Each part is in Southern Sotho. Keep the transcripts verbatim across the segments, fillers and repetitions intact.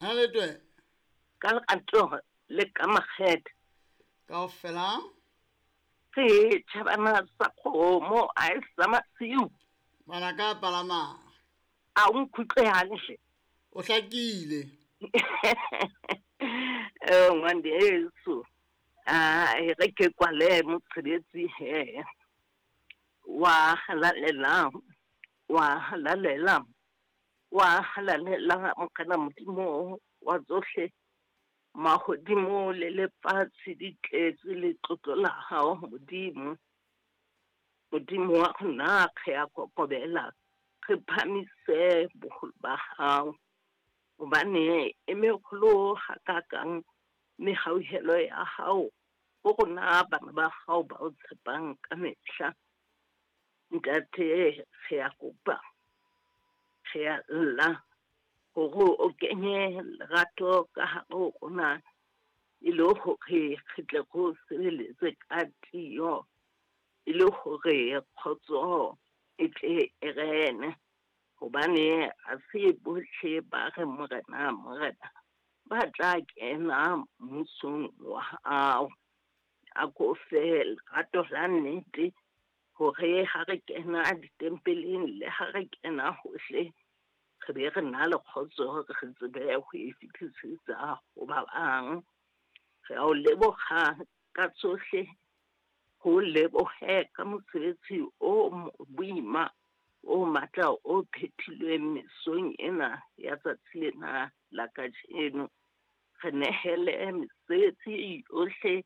Ha le twe. Ka lerato le ka makgethe. Kaofela. Re tjhabana sa kgomo a e sa masiu. Bana ka palama. A o nkutlwe hantle. O hlakile. Eh ngwaneso. Ah e re ke kwale mosebetsi he. Wa halalela. Wa halalela. Wa halalela mokana Modimo wa tsohle. Mahodimo le lefatshe di tletse letlotlo la hao Modimo. Modimo wa rona re a kokobela, re phamise boholo ba hao. Hobane e meholo hakakang mehauhelo ya hao ho rona bana ba hao ba o tshepang ka mehla. Ntate re a kopa, re a lla hore o kenye lerato ka hare ho rona e le hore re tle re o sebeletse ka tiyo, e le hore kgotso e tle e rene. Hobane ha se bohle ba re Morena, Morena ba tla kena mmusong wa hao. A ko fe lerato la nnete hore ha re kena ditempeleng le ha re kena hohle re be re na le kgotso, re tsebe ho e fetisetsa ho ba bang. Re a o leboha ka tsohle, ho lebohe ka mosebetsi o boima o matla o phethilweng mesong ena ya tsatsi lena la kajeno. Re nehele mesebetsi yohle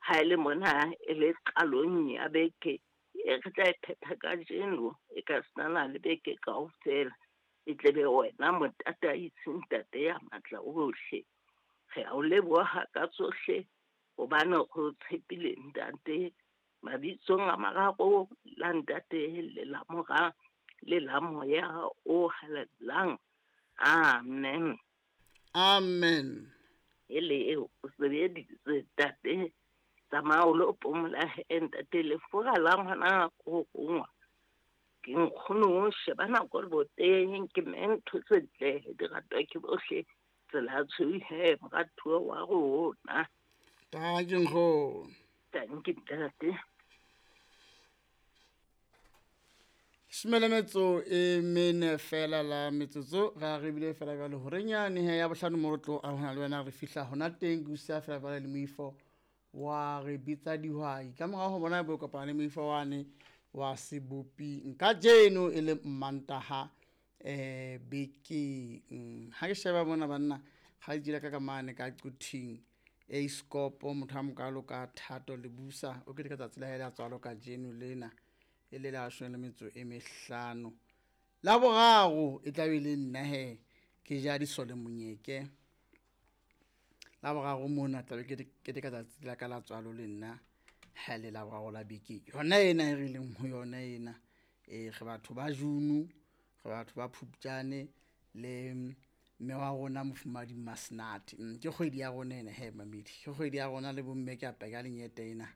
ha e le mona e le qalong ya beke e re tla e phetha kajeno, e ka senana le beke kaofela. E tle be wena motataisi Ntate ya matla ohle. Re a o leboha ka tsohle hobane re o tshepile Ntate. Mabitsong a mararo la Ntate le la Mora le la Moya o Halalelang. Amen. Amen. Ele eo o sebeditse Ntate. Tsamaya o lo phomola he Ntate, lefura la ngwana ko gongwa. Ke nkgono sheba nako le boteng ke mme ntho tse ntle di ratwa ke bohle. Tsela tshweu he moratuwa wa rona. Tanki nkgono. Tanki ntate. Leshome le metso e mene fela la metsotso ra re bile fela jwale horeng yane he ya bohlano mo re tlo arohana le wena re fihla hona teng ke usa fela jwale le moifo wa re bitsa dihwai ka morao ho bona bo kopana le moifo wane wa seboping kajeno e le Mmantaha eh bekeng. Ha ke sheba mona banna ga jila ka ka mane ka Quthing e scopo motho a mokalo ka Thato le busa o ke ka tsatsi la hae la tswalo kajeno lena e le la leshome le metso e mehlano la boraro e tla be le nna he ke ja disole monyeke la boraro mona tla be ke ke ka tsatsi la ka la tswalo le nna ha le la boraro la beke yona ena e re leng ho yona ena e re batho ba June re batho ba Phupjane le mme wa rona mofumadi Masnati. Ke kgwedi ya rona ena he mamedi, ke kgwedi ya rona le bomme ke a peka lenyete ena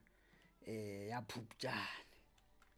eh ya Phupjane.